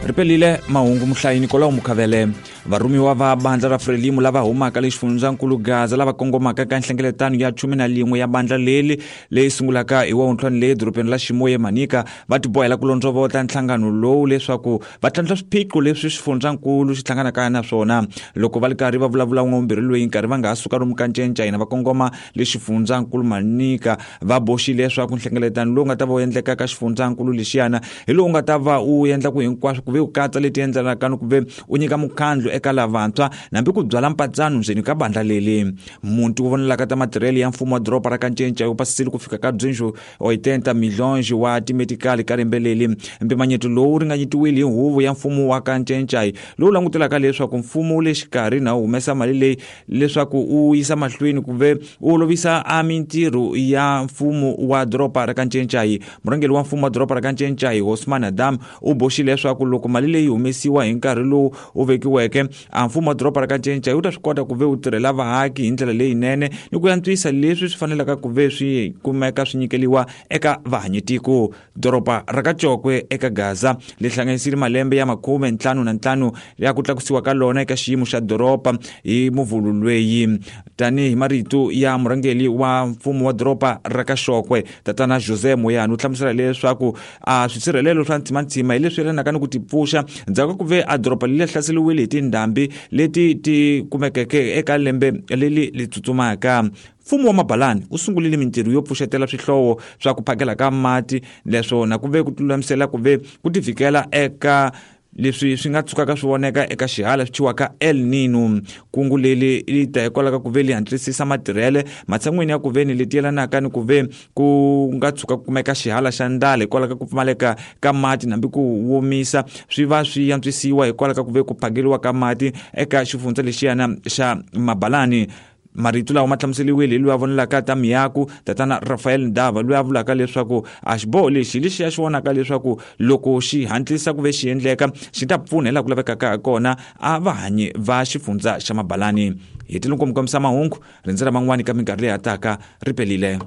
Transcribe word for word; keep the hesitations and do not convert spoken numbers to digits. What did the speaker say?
Ripelile mahungu muhlayi Nicolau Mukhavele. Varhumiwa va bandla ra Frelimo lava humaka le xifundzankulu Gaza lava kongomaka ka nhlengeletano ya khume na lin'we ya bandla leli leyi sungulaka hi wavuntlhanu le dorobeni la Ximoye Manika va tibohela ku londzovota nhlangano lowu leswaku va tlhantlha swiphiqo leswi xifundzankulu xi hlanganaka na swona. Loko va ri karhi va vulavula n'wavumbirhi loyi nkarhi va nga ha suka lomu ka Ncencca hina va kongoma le xifundzankulu Manika va boxile leswaku nhlengeletano lowu nga ta va wu endleka ka xifundzankulu lexiyana hi lowu nga ta va wu endla ku hinkwaswo ku ve u katsa leti endlelaka ni ku ve u nyika mukhandlu eka lavantshwa nambi ku byala mpatsano ndzeni ka bandla leli. Muti wu vonelaka ta matirhelo ya mfumo wa doroba ra ka Ncencca wu pasisile ku fika ka duzentos oitenta milhões wa timetikali ka lembe leli. Mpimanyeto lowu wu ringanyetiwile hi huvo ya mfumo wa ka Ncencca lowu langutelaka leswaku mfumo wu le xikarhi na wu humesa mali leyi leswaku wu yisa mahlweni ku ve wu olovisa a mintirho ya mfumo wa doroba ra ka Ncencca. Murhangeri wa mfumo wa doroba ra ka Ncencca Osman Adam u boxile leswaku loko mali leyi humesiwa hi nkarhi lowu wu vekiweke a mfumo wa doroba ra ka Ncencca wu ta swi kota ku ve wu tirhela vaaki hi ndlela leyinene ni ku antswisa leswi swi fanelaka ku ve swi kumeka swi nyikeliwa eka vahanyitiko. Doroba ra ka Cokwe eka Gaza li hlanganisile malembe ya makhume ntlhanu na ntlhanu ya ku tlakusiwa ka lona eka xiyimo xa doroba hi muvhulu lweyi. Tanihi marito ya murhangeri wa mfumo wa doroba ra ka Xokwe tatana Jose Moyani u hlamusela leswaku a swisirhelelo swa ntsimantsima hi leswi yelanaka ni ku tipfuxa ndzhaku ka ku ve a doroba leri hlaseriwile hi tindhambi leti ti kumekeke eka lembe leri li tsutsumaka. Mfumo wa Mabalani wu sungurile mintirho yo pfuxetela swihlovo swa ku phakela ka mati leswona ku ve ku tilulamisela ku ve ku tivikela eka leswi swi nga tshukaka swi voneka eka xihala swi thyiwaka El Nino. Kungu leri li ta hikwalaho ka ku ve li hatlisisa matirhele matshan'wini ya ku ve ni leti yelanaka ni ku ve ku nga tshuka ku kumeka xihala xa ndlala hikwalaho ka ku pfumaleka ka mati nambi ku womisa swi va swi antswisiwa hikwalaho ka ku ve ku phakeriwa ka mati eka xifundza lexiyana xa Mabalani. Marito lawa ma hlamuseriwile hi loyi a vonelaka ta miako tatana Rafael Ndava loyi a vulaka leswaku a xiboho lexi lexi ya xi vonaka leswaku loko xi hatlisa ku ve xi endleka xi ta pfuna hi laha ku lavekaka ha kona a vahanyi va xifundza xa Mabalani. Hi tile nkomu kombisa mahungu rindzela man'wani ka minkarhi leyi hataka ripelile.